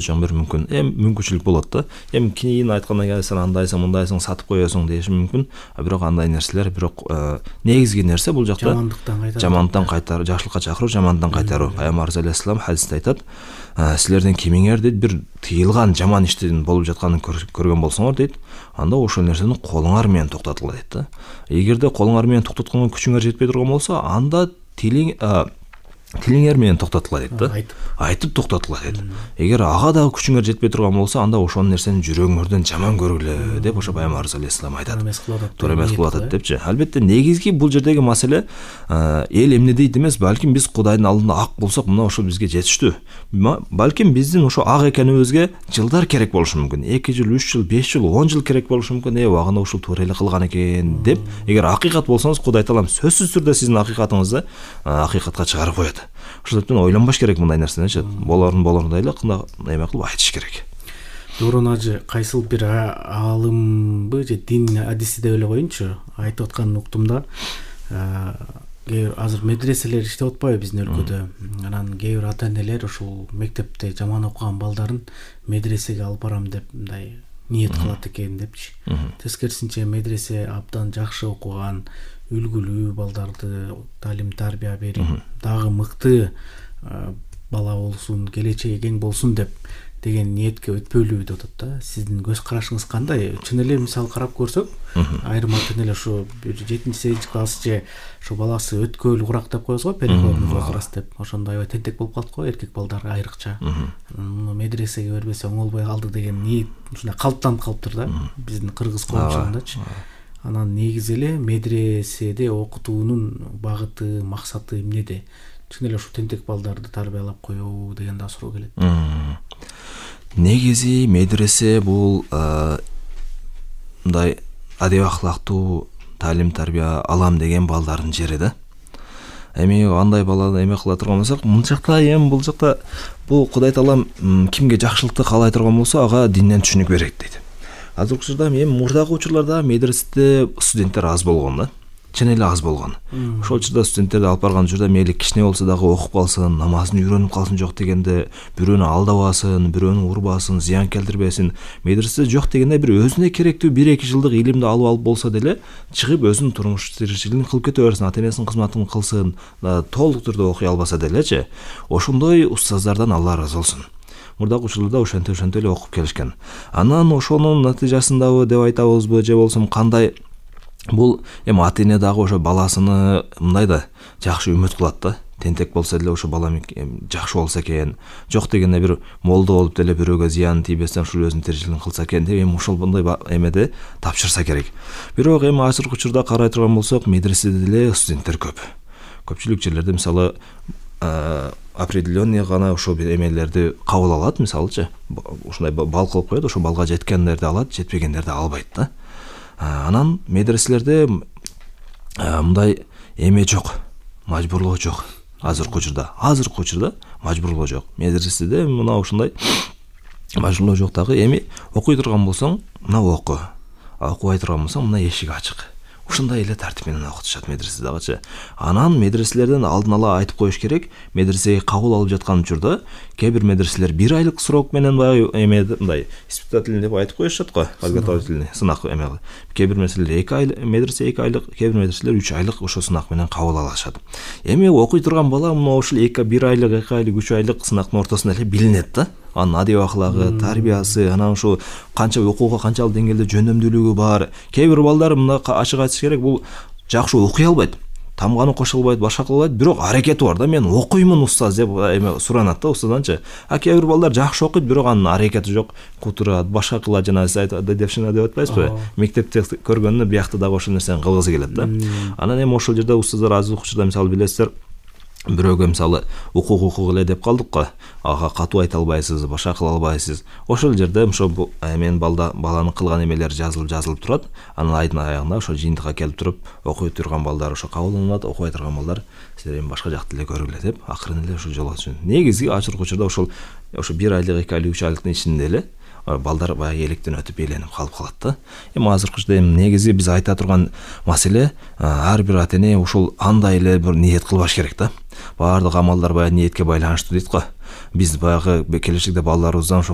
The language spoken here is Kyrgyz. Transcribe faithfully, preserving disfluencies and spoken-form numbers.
чоң бир мүмкүн эми мүмкүнчүлүк болот да. Эми кийин айткандан кийин сен андайсың, мындайсың, сатып коесуң деши мүмкүн. А бирок андай нерселер, бирок негизги нерсе бул жакта жамандыктан кайтаруу, жамандыктан кайтаруу, жакшылыкка чакыруу, жамандыктан кайтаруу. Пайгамбарыбыз алейхиссалам хадисте айтат, силерден кимиңер дейт бир тыйылган жаман иштин болуп жатканын көргөн болсоңор дейт, анда ошол нерсени колуңар менен токтотула дейт да. Эгерде колуңар менен токтотконго күчүңөр жетпей турган болсо, анда тилиң тилиңер менен токтотула дейт да. Айтып токтотула дейт. Эгер ага дагы күчүңөр жетпей турган болсо, анда ошол нерсени жүрөгүңөрдөн жаман көргүлө деп ошо Пайгамбарыбыз алейхиссалам айтат. Туура эмес кылып атат депчи. Албетте негизги бул жердеги маселе эл эмне дейт эмес, балким биз Кудайдын алдында ак болсок, мына ошо бизге жетиштүү. Балким биздин ошо ак экенибизге жылдар керек болушу мүмкүн. эки жыл, үч жыл, беш жыл, он жыл керек болушу мүмкүн. Э, убагында ушул туура эле кылган экен деп, эгер акыйкат болсоңуз, Кудай Таалам сөзсүз түрдө сиздин акыйкатыңызды акыйкатка чыгарып коет. Ошондуктан ойлонбаш керек мындай нерсени, болорун болорудай эле кандай эме кылып айтыш керек. Дорон ажы кайсыл бир аалымбы же дин адиси деп эле коеюнчу, айтып атканын уктум да. Азыр медреселер иштеп атпайбы биздин өлкөдө? Анан кээ бир ата-энелер ушул мектепте жаман окуган балдарын медресеге алып барам деп мындай ниет кылат экен депчи. Тескерисинче медресе абдан жакшы окуган, үлгүлүү балдарды талим тарбия берип, дагы мыкты бала болсун, келечеги кең болсун деп деген ниетке өтпөйлүү деп атат да. Сиздин көз карашыңыз кандай? Чын эле мисал карап көрсөк, айрым ата-энелер ошо бир жетинчи сегизинчи класс же ошо баласы өткөл курак деп коебуз го, переходный возраст деп. Ошондой аябай тентек болуп калат го эркек балдар айрыкча. Муну медресеге бербесе оңолбой калды деген ниет ушундай калыптанып калыптыр да биздин кыргыз коомчулугундачы. Анан негизи эле медреседе окутуунун багыты, максаты эмнеде? Чын эле ушу тентек балдарды тарбиялап коебу деген да суроо келет. Негизи медресе бул мындай адеп ахлактуу талим тарбия алам деген балдардын жери да. Эми андай баланы эме кыла турган болсок, мынчакта эми бул жакта бул Кудай Таалам кимге жакшылыкты каалай турган болсо, ага динден түшүнүк берет дейт. Азыркы учурда эми мурдагы учурларда медреседе студенттер аз болгон да. Чын эле аз болгон. Ошол учурда студенттерди алып барган учурда мейли кичине болсо дагы окуп калсын, намазын үйрөнүп калсын жок дегенде, бирөөнү алдабасын, бирөөнү урбасын, зыян келтирбесин. Медреседе жок дегенде бир өзүнө керектүү бир эки жылдык илимди алып алып болсо деле, чыгып өзүнүн турмуш тиричилигин кылып кете берсин, ата-энесинин кызматын кылсын, толук түрдө окуй албаса делечи. Ошондой устаздардан Алла ыраазы болсун. Мурдагы учурларда ошентип ошентип эле окуп келишкен. Анан ошонун натыйжасындабы деп айтабызбы же болсом кандай, бул эми ата-эне дагы ошо баласыны мындай да жакшы үмүт кылат да. Тентек болсо деле ошо балам жакшы болсо экен, жок дегенде бир молдо болуп деле бирөөгө зыян тийбестен ушул өзүнүн тиричилигин кылса экен деп эми ошол мындай эмеде тапшырса керек. Бирок эми азыркы учурда карай турган болсок, медреседе деле студенттер көп. Көпчүлүк жерлерде мисалы определенный гана ошо бир эмелерди кабыл алат, мисалычы ушундай бал кылып коет, ошо балга жеткендерди алат, жетпегендерди албайт да. Анан медреселерде мындай эме жок, мажбурлоо жок. Азыркы учурда, азыркы учурда мажбурлоо жок. Медреседе мына ушундай мажбурлоо жок дагы. Эми окуй турган болсоң, мына оку. Окубай турган болсоң, мына эшик ачык. Ушундай эле тартип менен окутушат медреседагычы. Анан медреселерден алдын ала айтып коюш керек, медресеге кабыл алып жаткан учурда кээ бир медреселер бир айлык срок менен баягы эме мындай испытательный деп айтып коюшат го, подготовительный сынак эме. Кээ бир медреселер эки айлык, медресе эки айлык, кээ бир медреселер үч айлык ошо сынак менен кабыл алышат. Эми окуй турган бала мына ушул эки бир айлык, эки айлык, үч айлык сынактын ортосунда эле билинет да. Анын адеп ахлагы, тарбиясы, анан ушул канча окууга канчалык деңгээлде жөндөмдүүлүгү бар. Кээ бир балдар мына ачык айтыш керек, бул жакшы окуй албайт, тамганы кошо албайт, башка кыла албайт, бирок аракети бар да, мен окуймун устаз деп эме суранат да устазданчы. А кээ бир балдар жакшы окуйт, бирок анын аракети жок, кутурат, башка кылат, жана сиз айтат, девшина деп атпайсызбы? Мектепте көргөнүнө биякта дагы ошол нерсени кылгысы келет да. Анан эми ошол жерде устаздар азыркы учурда мисалы билесиздер, бирөөгө мисалы укук укук эле деп калдык го, ага катуу айта албайсыз, башка кыла албайсыз. Ошол жерде ошо мен балда баланын кылган эмелери жазылып жазылып турат. Анан айдын аягында ошо жыйынтыкка келип туруп, окуй турган балдар ошо кабылданат, окубай турган балдар силер эми башка жакты эле көргүлө деп акырын эле ошо жолго түшүн. Негизи азыркы учурда ошол ошо бир айлык, эки айлык, үч айлыктын ичинде эле балдар баягы электен өтүп эйленип калып калат да. Эми азыркы учурда эми негизи биз айта турган маселе, ар бир ата-эне ушул андай эле бир ниет кылбаш керек да. Баардык амалдар баягы ниетке байланыштуу дейт го. биз баягы келечекте балдарыбыздан ошо